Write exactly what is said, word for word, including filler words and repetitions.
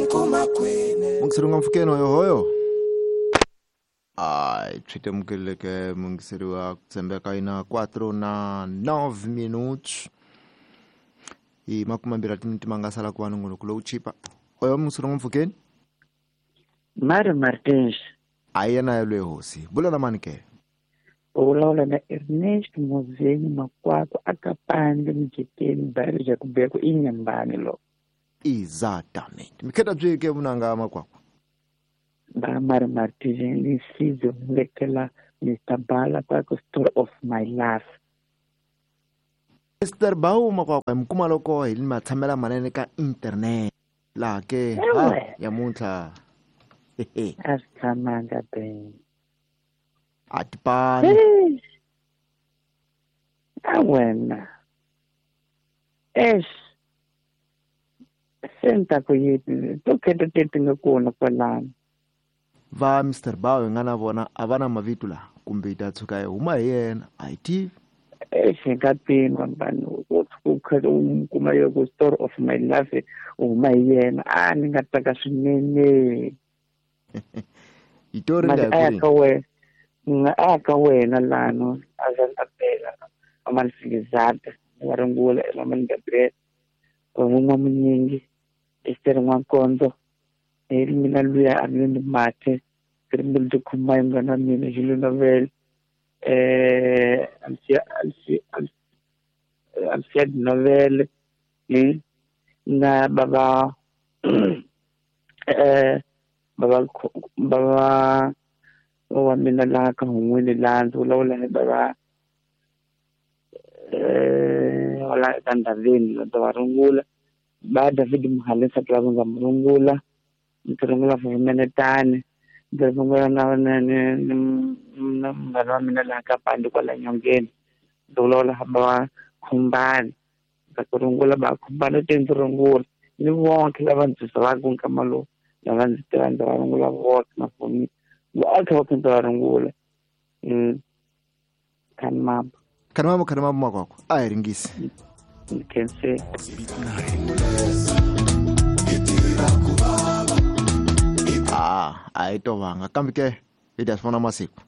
Mungiseri nga mpfukeni hoyohoyo ai swi temukeleke mungiseri wa ku tshembeka ina quatro na nove minutos i makume mbirhi timiniti ma nga sala ku va nongonoko lowu chipa. Oyo mungiseri nga mpfukeni Mário Martins. A yena yelwe hosi bula na mani ke? U vulavula na Ernesto Mozeni Makwakwa akapande Mjekeni bairro Jacobeko Inhambane lo. Exatamente. Mikheta byi ke vunanga Makwakwa. Ba Mário Martins ni sizo lekela Mister Bala kwa story of my life. Mister Bau Makwakwa mkuma loko hi matshamela manene ka internet la ke ha ya muntlha. A swi tshamanga ben. A tipani. A wena. Eish. Senta ku yini to khetha teti nga kona kwalano. Va Mister Bau hi nga na vona a va na mavito laha kumbe yi ta tshuka yi huma hi yena a yi tivi. Eish hi nga pima vanhu ku kha u kuma yo ku story of my life u huma hi yena a ni nga tsaka swinene. Itori nga a ka wena a ka wena lano a za ta bela amalfilizata wa rungula emaman Gabriel vun'wa munyingi Esther N'wankonzo hi mina luya a ni mate rimbil de khuma munghana wa mina Julio Novel eh Alcia Alcia Alcia Novel ni na baba eh baba baba wa mina laha ka hun'wini laha ndzi vulavula hi baba eh wala ka Ndaveni ndzi va rungula ba David Muhalisa lava nga mu rungula ndzi rungula Vumenetani ndzi rungula na na na munghana wa mina laha ka Pandi kwala nyongeni ndzi vulavula hi baba Khumbani ndza ku rungula ba Khumbani te ndzi rungula ni vonke lava ndzi tivaka nkama lowu lava ndzi tiva ndzi va rungula vonke mafoni vonke va ndzi va rungula khanimambo khanimambo khanimambo Makwakwa a hi ringisi khense. Ah a hi tovanga kambe ke hi ta swi vona masiku.